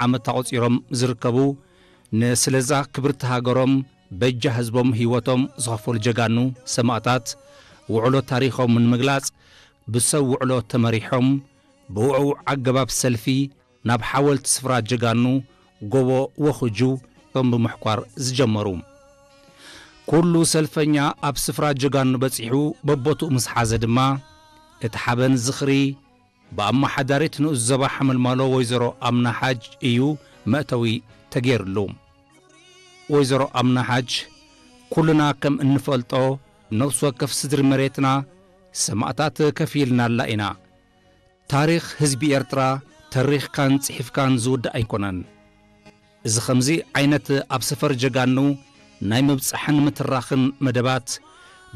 ዓመት ኣቑጺሮም ዝርከቡ፣ ንስለዛ ክብርቲ ሃገሮም በጃ ህዝቦም ህይወቶም ዝኸፈሉ ጀጋኑ ሰማእታት ውዕሎ ታሪኾም ንምግላጽ ብሰብ ውዕሎ ተመሪሖም ብውዕዉዕ ኣገባብ ሰልፊ ናብ ሓወልቲ ስፍራ ጀጋኑ ጎቦ ወኹጁ እቶም ብምሕኳር ዝጀመሩ። ኩሉ ሰልፈኛ ኣብ ስፍራ ጀጋኑ በጺሑ በቦትኡ ምስ ሓዘ ድማ እቲ ሓበን ዝኽሪ ብኣመሓዳሪት ንኡስ ዞባ ሓመልማሎ ወይዘሮ ኣምና ሓጅ እዩ መእተዊ ተገይርሉ። ወይዘሮ ኣምና ሓጅ ኩልና ከም እንፈልጦ ነፍሲ ወከፍ ስድሪ መሬትና ሰማእታት ከፊልናላ ኢና። ታሪኽ ህዝቢ ኤርትራ ተሪኽካን ጽሒፍካን ዝውዳእ ኣይኮነን። እዚ ኸምዚ ዓይነት ኣብ ሰፈር ጀጋኑ ናይ ምብጻሕን ምትራኽን መደባት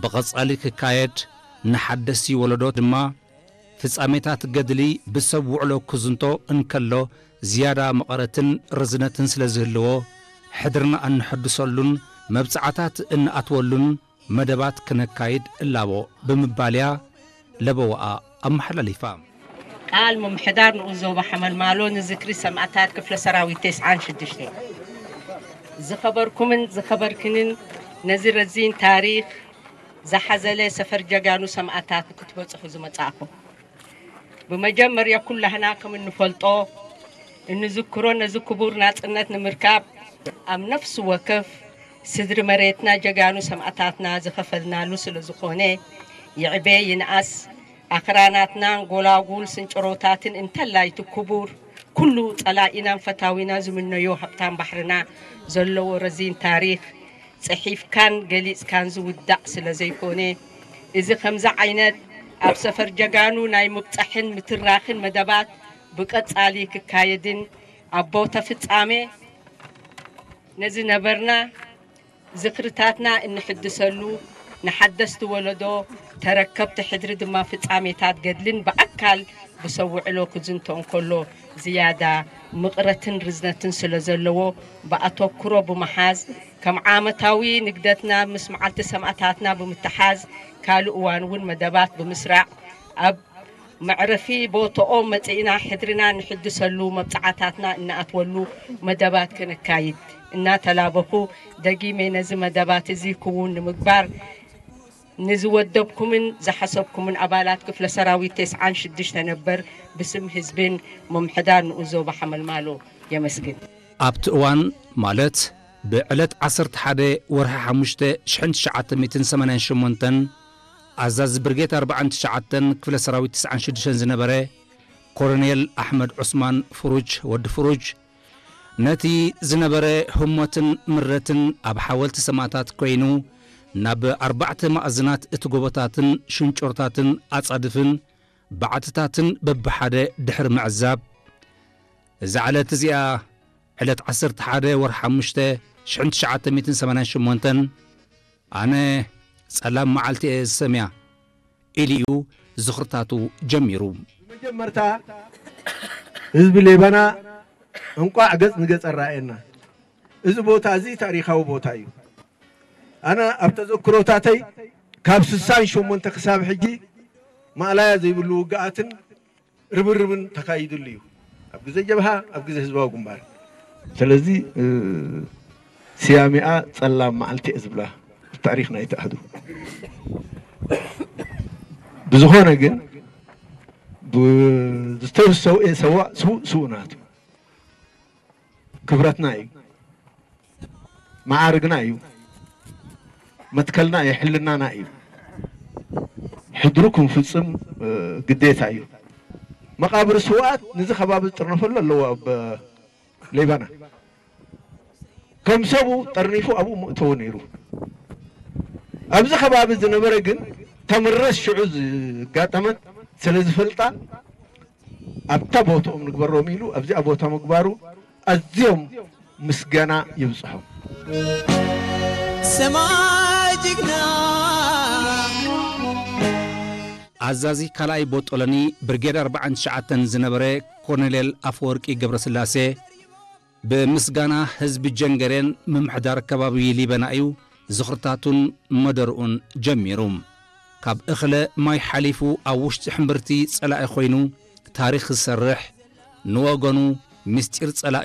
ብቐጻሊ ክካየድ፣ ንሓደስቲ ወለዶ ድማ ፍጻሜታት ገድሊ ብሰብ ውዕሎ ክዝንቶ እንከሎ ዝያዳ መቐረትን ርዝነትን ስለ ዝህልዎ፣ ሕድርና እንሐድሰሉን መብጽዓታት እንኣትወሉን መደባት ክነካይድ እላቦ ብምባል እያ ለበዋኣ ኣመሓላሊፋ። ቃል ምምሕዳር ንኡስ ዞባ ሓመልማሎ ንዝክሪ ሰማእታት ክፍለ ሰራዊት ተስዓን ሽዱሽተ። ዝኸበርኩምን ዝኸበርክንን ነዚ ረዚን ታሪኽ ዝሓዘለ ሰፈር ጀጋኑ ሰማእታት ክትበጽሑ ዝመጻእኹም። ብመጀመርያ ኩላህና ከም እንፈልጦ እንዝክሮ ነዚ ክቡር ናጽነት ንምርካብ ኣብ ነፍሲ ወከፍ ስድሪ መሬትና ጀጋኑ ሰማእታትና ዝኸፈልናሉ ስለ ዝኾነ ይዕበ ይንኣስ ኣኽራናትናን ጎላጉል ስንጭሮታትን እንተላይ እቲ ክቡር ኩሉ ጸላኢናን ፈታዊና ዝምነዮ ሃብታም ባሕርና ዘለዎ ረዚን ታሪኽ ጽሒፍካን ገሊጽካን ዝውዳእ ስለ ዘይኮነ፣ እዚ ከምዚ ዓይነት ኣብ ሰፈር ጀጋኑ ናይ ምብጻሕን ምትራኽን መደባት ብቀጻሊ ክካየድን ኣብ ቦታ ፍጻሜ ነዚ ነበርና ዝኽርታትና እንሕድሰሉ፣ ንሓደስቲ ወለዶ ተረከብቲ ሕድሪ ድማ ፍጻሜታት ገድልን ብኣካል ብሰብ ውዕሎ ክዝንቶ እንከሎ ዝያዳ ምቕረትን ርዝነትን ስለ ዘለዎ ብኣተኩሮ ብምሓዝ ከም ዓመታዊ ንግደትና ምስ መዓልቲ ሰማእታትና ብምትሓዝ ካልእ እዋን እውን መደባት ብምስራዕ ኣብ መዕረፊ ቦትኦም መጺእና ሕድርና ንሕድሰሉ መብጽዓታትና እንኣትወሉ መደባት ከነካይድ እናተላበኹ ደጊመ ነዚ መደባት እዚ ክውን ንምግባር ንዝወደብኩምን ዝሓሰብኩምን ኣባላት ክፍለ ሰራዊት ተስዓን ሽዱሽተ ነበር ብስም ህዝብን ምምሕዳር ንኡስ ዞባ ሓመልማሎ የመስግን። ኣብቲ እዋን ማለት ብዕለት ዓሰርተ ሓደ ወርሒ ሓሙሽተ ሽሕን ትሽዓተ ሚእትን ሰማንያን ሸሞንተን ኣዛዚ ብርጌድ ኣርባዓን ትሽዓተን ክፍለ ሰራዊት ትስዓን ሽዱሽተን ዝነበረ ኮሎኔል ኣሕመድ ዑስማን ፍሩጅ ወዲ ፍሩጅ ነቲ ዝነበረ ህሞትን ምረትን ኣብ ሓወልቲ ሰማእታት ኮይኑ ናብ ኣርባዕተ ማእዝናት እቲ ጎቦታትን ሽንጮርታትን ኣጻድፍን ባዕትታትን በብሓደ ድሕሪ ምዕዛብ፣ እዛ ዕለት እዚኣ ዕለት ዓሰርተ ሓደ ወርሒ ሓሙሽተ ሽሕን ትሽዓተ ሚእትን ሰማንያን ሸሞንተን ኣነ ጸላም መዓልቲ እየ ዝሰምያ ኢሉ እዩ ዝኽርታቱ ጀሚሩ። መጀመርታ ህዝቢ ሌባና እንቋዕ ገጽ ንገጽ ኣረኣየና። እዚ ቦታ እዚ ታሪኻዊ ቦታ እዩ። ኣነ ኣብ ተዘክሮታተይ ካብ ስሳን ሸሞንተ ክሳብ ሕጂ ማእላያ ዘይብሉ ውግኣትን ርብርብን ተኻይድሉ እዩ። ኣብ ግዜ ጀብሃ፣ ኣብ ግዜ ህዝባዊ ግንባር። ስለዚ፣ እ፣ ስያሜኣ ጸላም መዓልቲ እየ ዝብላ፣ ታሪኽ ናይቲ ኣህዱ። ብዝኾነ ግን፣ ብ-፣ ዝተሰውኤ ሰዋእ ስዉእ ስዉእ ናቱ። ክብረትና እዩ። መዓርግና እዩ። መትከልና እዩ፣ ሕልናና እዩ። ሕድሩ ክንፍጽም፣ እ፣ ግዴታ እዩ። መቓብር ስውኣት ነዚ ከባቢ ዝጥርነፈሉ ኣለዎ ኣብ ሌባና። ከም ሰቡ ጠርኒፉ ኣብኡ ምእተዎ ነይሩ። ኣብዚ ከባቢ ዝነበረ ግን ተምረስ ሽዑ ዝጋጠመት ስለ ዝፈልጣ ኣብታ ቦታኦም ንግበሮም ኢሉ ኣብዚኣ ቦታ ምግባሩ ኣዝዮም ምስጋና ይብጽሖም። ሰማይ ጅግና። ኣዛዚ ካልኣይ ቦጦለኒ ብርጌድ ኣርባዓን ትሽዓተን ዝነበረ ኮሎኔል ኣፈወርቂ ገብረስላሴ፣ ብምስጋና ህዝቢ ጀንገሬን ምምሕዳር ከባቢ ሊበና እዩ ዝኽርታቱን መደርኡን ጀሚሩ። ካብ እኽለ ማይ ሓሊፉ ኣብ ውሽጢ ሕምብርቲ ጸላኢ ኮይኑ ታሪኽ ዝሰርሕ፣ ንወገኑ ምስጢር ጸላኢ